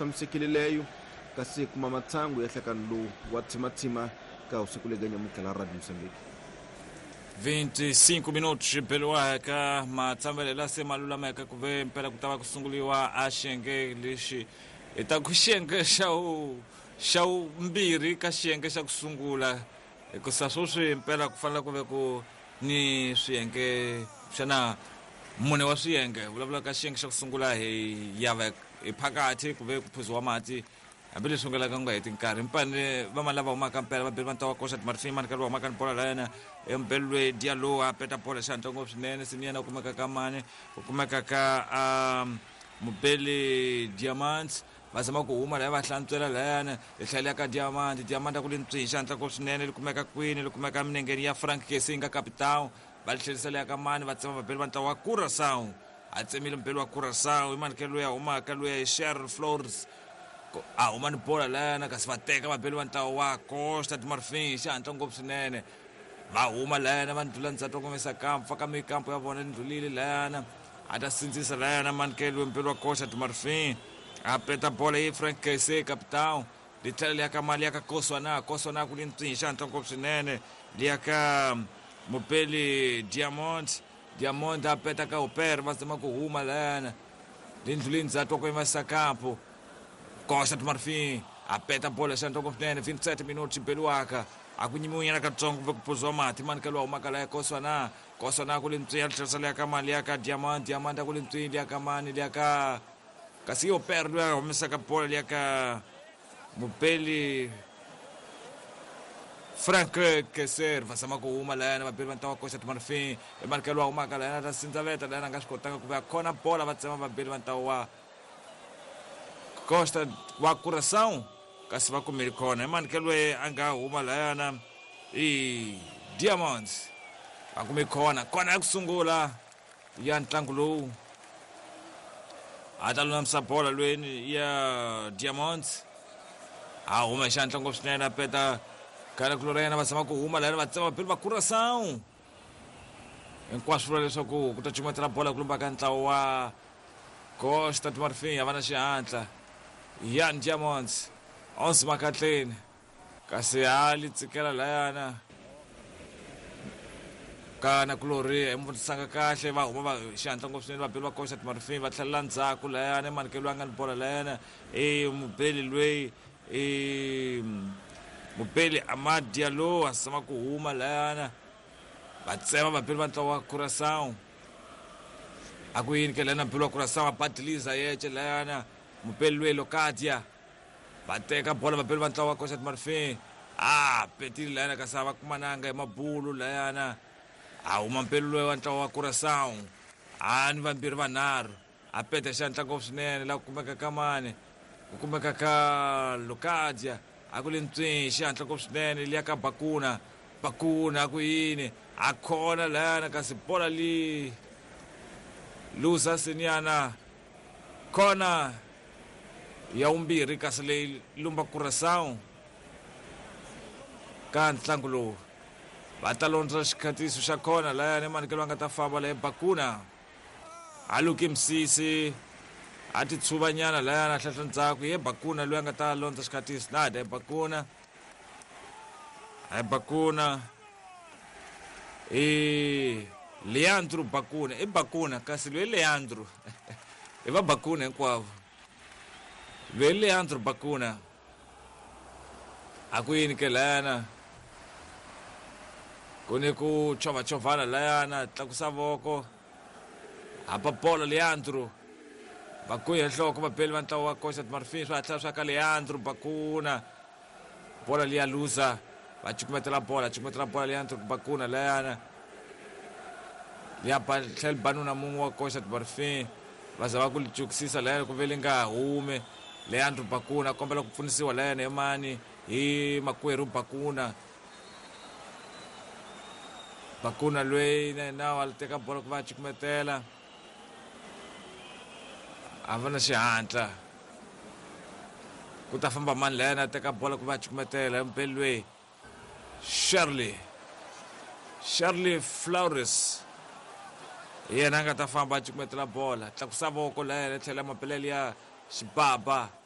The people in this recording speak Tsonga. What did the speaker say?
Tshamisekile leyo kasi kuma matsangu ya hlekani lowu wa tsimatsima ka usiku lega nyamutlha la Radio Mozambique. 25 minutos beliwaka matshambelo la se ma lulameka ku ve mpela ku ta va ku sunguliwa a xiyenge lexi hi ta ku xiyenge xa wu xa vumbirhi ka xiyenge xa ku sungula hikusa sweswi mpela ku fanele ku ve ku ni swiyenge xana mune wa swiyenge vulavula ka xiyenge xa ku sungula hi ya va hi phakathi ku ve ku phuziwa mati hambileswi nga laka nga heti nkarhi mpane va ma lava humaka mpela va beli va ntawa koxa timarifini mani karhi va humaka ni bola la yena embelwe dialo a peta bola xihatla ngopfu swinene sini yena u kumeka ka mani u kumeka ka mubeli diamonds va zama ku huma laya va hlantswela layana hi tlhela ka diamond diamond a ku li ntswihi xihatla ngopfu swinene li kumeka kwini li kumeka eminengeni ya Frank Kesi yi nga capitão va li tlherisela ya ka mani va tsema vabeli va ntlawa wa Curaçao a tsemile mubeli wa Curaçao i mani ke loyi a humaka loyi hi Cheryl Flores a huma ni bola layana kasi va teka vabeli va ntlawa wa Costa de Marfin xihatla ngopfu swinene va huma layana va ndlula ndzhaku va komisa kampo fa ka mikampo ya vona ndlulile layana a ta sindzisa layana manikelo mubeli wa Costa de Marfin a peta bola yi Frank Kese capitão li tlhela liya ka mali ya ka Koswana Koswana ku li ntswihi xihatla ngopfu swinene liya ka mubeli Diamond Diamond a peta ka Uper va zama ku huma layana li ndlulile ndzhaku wa ku yimisa kampo Costa de Marfin a peta bola xihatla ngopfu swinene 27 minutos xibeliwaka a ku nyimiwe nyana katsongo kumbe ku phuziwa mati mani ka lowa humaka laya Koswana Koswana ku li ntswihi a tlherisa liya ka mali ya ka Diamond Diamond a ku li ntswihi liya ka mani liya ka kasi yo per loyi a humesaka bola liya ka mubeli Frank Keser va zama ku huma layana vabeli va ntlawa Costa de Marfin i mani lowa humaka layana ta sindzaveta layana a nga swi kotanga ku va khona bola va tsema vabeli va ntlawa wa Costa wa Curaçao kasi va kumile khona i mani ke loyi a nga huma layana i Diamonds va kume khona khona ya ku sungula ya ntlangu lowu a ta lulamisa bola lweni ya Diamonds a huma hi xihatla ngopfu swinene a peta khale ku lora yena va zama ku huma layani va tsema vabeli va Curaçao hinkwaswo vula leswaku ku ta cukumetela bola ku lumba ka ntlawa wa Costa de Marfin a va na xihatla Yan Diamonds Ons Makatleni kasi a li tsikela layana ka nakulorhi hi mvutisanga kahle va huma va xihatla ngopfu swinene vabeli va Costa de Marfin va tlhelela ndzhaku layana i manikelo a nga ni bola layana i mubeli loyi i mubeli Amad Diallo a zama ku huma layana va tsema vabeli va ntlawa wa Curaçao a ku yini ke layana mubeli wa Curaçao a badiliza yece layana mubeli loyi Locadia va teka bola vabeli va ntlawa wa Costa de Marfin a petile layana kasi a va kumananga hi mabulu layana a huma mpelo loyi wa ntlawa wa Curaçao a ni vambirhi vanharhu a peta xihatla ngopfu swinene la ku kumeka ka mani ku kumeka ka Locadia a ku li ntswihi xihatla ngopfu swinene liya ka Bakuna Bakuna a ku yini a khona layana kasi bola li luza seniana khona ya vumbirhi kasi leyi lumba Curaçao ka ntlangu lowu va ta londza xikhatiso xa khona layani manikelo va nga ta famba leyi Bakuna a luki misisi a ti tshuvanyana layani a hlahla ndzhaku ye Bakuna loyi a nga ta londza xikhatiso nada hi Bakuna hi Bakuna i Leandro Bakuna i Bakuna kasi loyi Leandro i va Bakuna hinkwavo loyi Leandro Bakuna a ku yini ke layana ku ni ku chovachovana layana tlakusa voko hapa bola Leandro Bakuna nhloko vabeli va ntlawa wa Costa de Marfin swa hatla swa ka Leandro Bakuna bola liya luza va cukumetela bola cukumetela bola Leandro Bakuna layana liya ba tlhela banuna mun'we wa Costa de Marfin va za va ku li cukisisa layana ku ve li nga hume Leandro Bakuna kombela ku pfunisiwa layana hi mani hi makwerhu Bakuna Bakuna loyi na yena a teka bola ku va a cukumetela a va na xihatla ku ta famba mani layana a teka bola ku va a cukumetela mubeli loyi Shirley Shirley Flores hi yena a nga ta famba a cukumetela bola tlakusa voko layena tlhela mapelele ya xibaba.